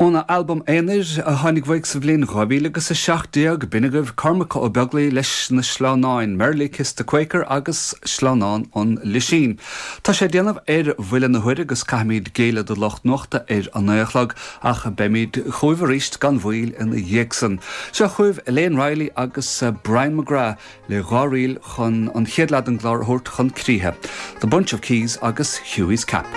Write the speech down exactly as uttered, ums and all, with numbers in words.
Óna albam aonair a tháinig uaidh sa bhliain dhá mhíle agus a seacht déag, b'in agaibh Cormac Ó Beaglaoich leis na sleamhnáin, Merrily Kiss the Quaker agus Sleamhnán an Lisín. Tá sé ag déanamh ar bhuille na huaire agus caithfimid géilleadh do lucht nuachta ar a naoi a chlog ach beimid chugaibh arís gan mhoill ina dhiaidh san. Seo chugaibh Elaine Riley agus Brian McGrath le dhá ríl chun an chéad leath den gclár a thabhairt chun críche, The Bunch of Keys agus Hughie's Cap.